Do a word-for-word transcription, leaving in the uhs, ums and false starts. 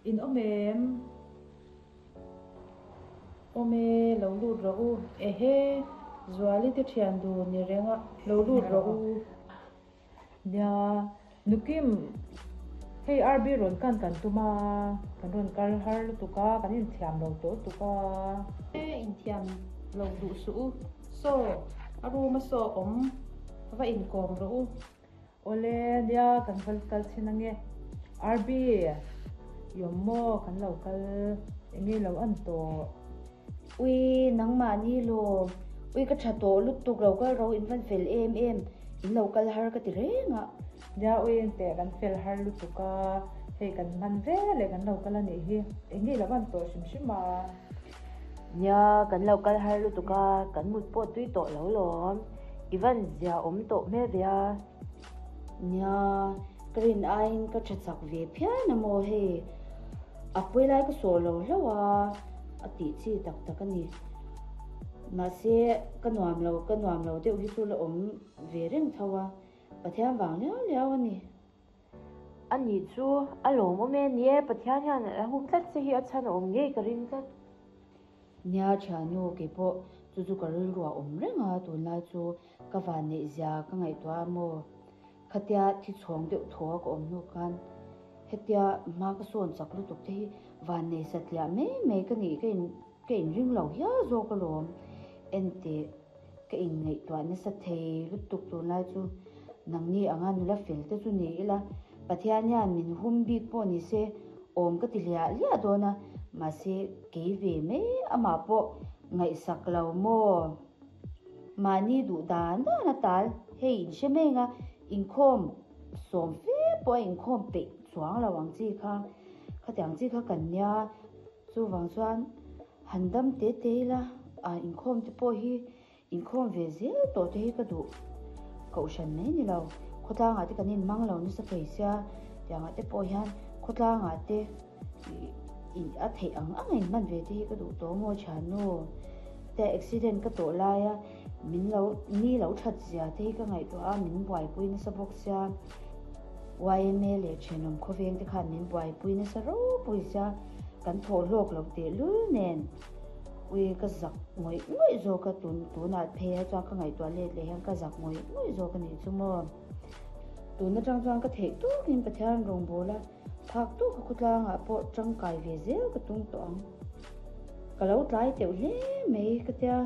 In awm em? Awm e, lo lut rawh u. Ehe, Zuali te thian dun ni reng a, lo lut rawh u. Nia, Nukim, hei R B rawn kan kan tum a, kan rawn kal har lutuk a, kan inthiam lo tawh lutuk a. E, inthiam lo duh suh u. Saw, a room a saw awm, va inkawm rawh u. Awle, nia, kan va kal chhin ange. R B, i awm maw? Kan lo kal enge lo an tawh? Ui, nangmahni lawm. Ui, ka tha tawh lutuk lo kal ro in van fel em em. In lo kal har ka ti reng a. Nia, ui engteh kan fel har lutuk a, hei kan hman ve leh kan lo kal a nih hi. Enge lo an tawh hrim hrim a? Nia, kan lo kal har lutuk a, kan mut pawh tui tawh lo lawm. I van zia awm tawh hmel ve a. Nia, ka rin aiin ka tha chak ve phian a maw hei. A pawi lai ka sawh lo hlauh a, a tih chi tak tak a ni. Mahse, ka nuam lo, ka nuam lo deuh hi chu la awm ve reng tho a, Pathian vang liau liau a ni. A nih chu, a lawmawm e. Ni e, Pathian hian a hum tlat che hi a chhan a awm ngei ka ring tlat. Nia thiannu, keipawh chu chu ka rilru a awm reng a, tunlai chu ka vanneih zia ka ngaihtuah a maw? Khatia thi chhawng deuh thaw a ka awm hnu khan hetia hma ka sawn chak lutuk te hi vannei satliah mai mai ka nih ka in ka inring lo hial zawk alawm. Enteh, ka inngaihtuah nasa thei lutuk tunlai chu nangni anga nula fel te chu ni ila, Pathian hian min hum bik pawh ni se awm ka ti hliah hliah dawn a, mahse kei ve mai amah pawh ngaihsak lo maw? Mahni duh dan dan a tal, hei in hre mai anga inkhawm sawm fe pawh a inkhawm peih chuang lo ang chi kha, khatiang chi kha kan nia, chuvang chuan han dam te te ila a inkhawm te pawh hi inkhawm ve zel tawh te hi ka duh. Kohhran mai ni lo, khawtlangah te kan inhmang lo nasa thei sia, tiangah te pawh hian khawtlangah te a theih ang ang a inhman ve te hi ka duh tawh maw thiannu. Te accident ka tawh laia min lo ni lo that zia te hi ka ngaihtuah a, min buaipui nasa bawk sia. Y M A leh thenawm khawveng te khan min buaipui nasa ropui sia, kan thawh hlawk lo tehlul nen. Ui, ka zak ngawih ngawih zawk a, tun tunah phei ah chuan ka ngaihtuah let leh hian ka zak ngawih ngawih zawk a nih chu maw. Tun atang chuan ka theih tawkin Pathian rawngbâwl a, phak tawka khawtlangah pawh tangkai ve zel ka tum tawh ang. Ka lo tlai teuh hle mai ka tia.